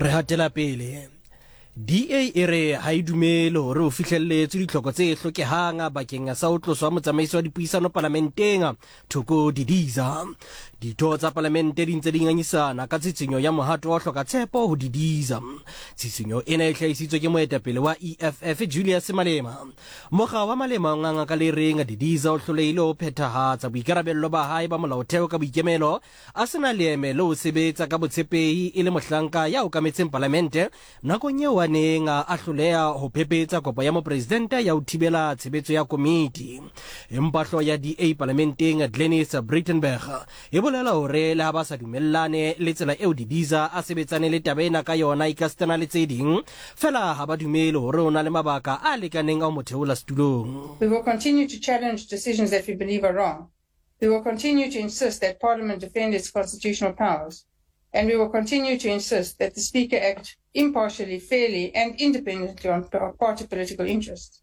Re hatela pele. DA e re ha e dumele hore ho fihlelletswe ditlhoko tse hlokehang bakeng sa ho tloswa motsamaisi wa dipuisano palamenteng Thoko Didiza. Ditho tsa palamente di ntse di ngangisana ka tshitshinyo ya mohato wa ho hloka tshepo ho Didiza. Tshitshinyo ena e hlahisitswe ke moetapele wa EFF Julius Malema. Mokga wa Malema o nganga ka le reng Didiza o hlolehile ho phethahatsa boikarabello ba hae ba molaotheo ka boikemelo a se na leeme le ho sebetsa ka botshepehi e le mohlanka ya okametseng palamente nakong eo a neng a hloleha ho phephetsa kopo ya mopresidente ya ho thibela tshebetso ya komiti. Empa hlooho ya DA palamenteng Glynnis Breytenbach e bolela hore le ha ba sa dumellane le tsela eo Didiza a sebetsane le taba ena ka yona ekasitana le tse ding, fela ha ba dumele hore o na le mabaka a lekaneng a ho mo theola setulong. We will continue to challenge decisions that we believe are wrong. We will continue to insist that Parliament defend its constitutional powers. And we will continue to insist that the Speaker act impartially, fairly, and independently on party political interests.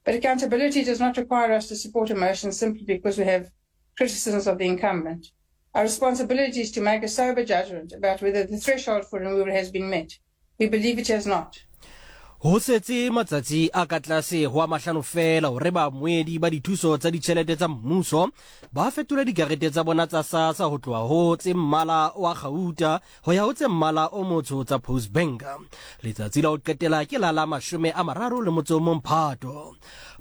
But accountability does not require us to support a motion simply because we have criticisms of the incumbent. Our responsibility is to make a sober judgment about whether the threshold for removal has been met. We believe it has not. Ho setse matsatsi a ka tlase ho a mahlano feela hore baamohedi ba dithuso tsa ditjhelete tsa mmuso ba fetole dikarete tsa bona tsa SASSA ho tloha ho tse mmala wa kgauta ho ya ho tse mmala o motsho tsa Postbank. Letsatsi la ho qetela ke la la 31 Phato.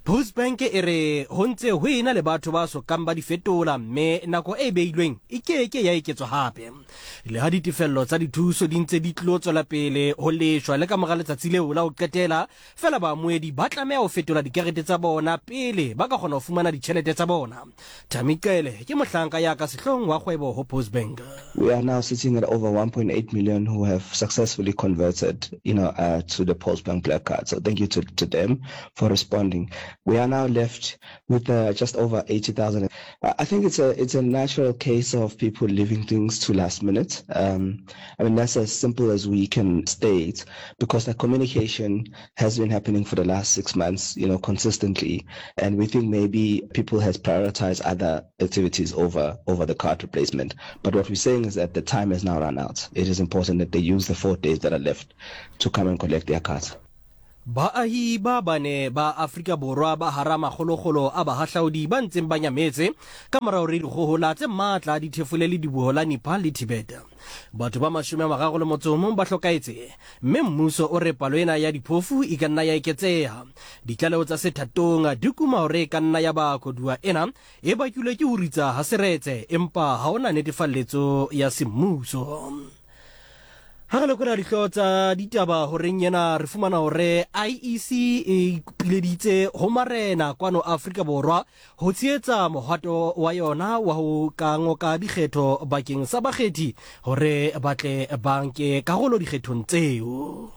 Postbank e re ho ntse ho ena le batho ba so kang ba di fetola mme nako e beilweng e ke ke ya eketswa hape. Le ha ditefello tsa dithuso di ntse di tlo tswela pele ho leshwa le ka mora letsatsi leo la ho qetela, fela baamohedi ba tlameha ho fetola dikarete tsa bona pele ba ka kgona ho fumana ditjhelete tsa bona. Thami Cele ke mohlanka ya ka sehloohong wa kgwebo ho Postbank. We are now sitting at over 1.8 million who have successfully converted, you know, uh, to the Postbank Black Card. So thank you to, to them for responding. We are now left with uh, just over 80,000. I think it's a it's a natural case of people leaving things to last minute. Um, I mean that's as simple as we can state because the communication has been happening for the last six months, you know, consistently, and we think maybe people has prioritized other activities over over the card replacement. But what we're saying is that the time has now run out. It is important that they use the four days that are left to come and collect their cards. Baahi ba bane ba Afrika Borwa ba hara makgolokgolo a bahahlaudi ba ntseng ba nyametse ka mora hore dikgohola tse matla di thefole lediboho la Nepal le Tibet. Batho ba 31 ba hlokahetse mme mmuso o re palo ena ya diphofu e ka nna ya eketseha. Ditlaleho tsa sethatong di kuma hore e ka nna ya ba koduwa ena e bakilwe ke ho ritsa ha seretse empa ha hona netefalletso ya semmuso. Ha re lekola dihlooho tsa ditaba horeng ena re fumana hore IEC e ipileditse ho marena kwano Afrika Borwa ho tshehetsa mohwato wa yona wa ho ka ngoka dikgetho bakeng sa bakgethi hore ba tle ba nke karolo dikgethong tseo.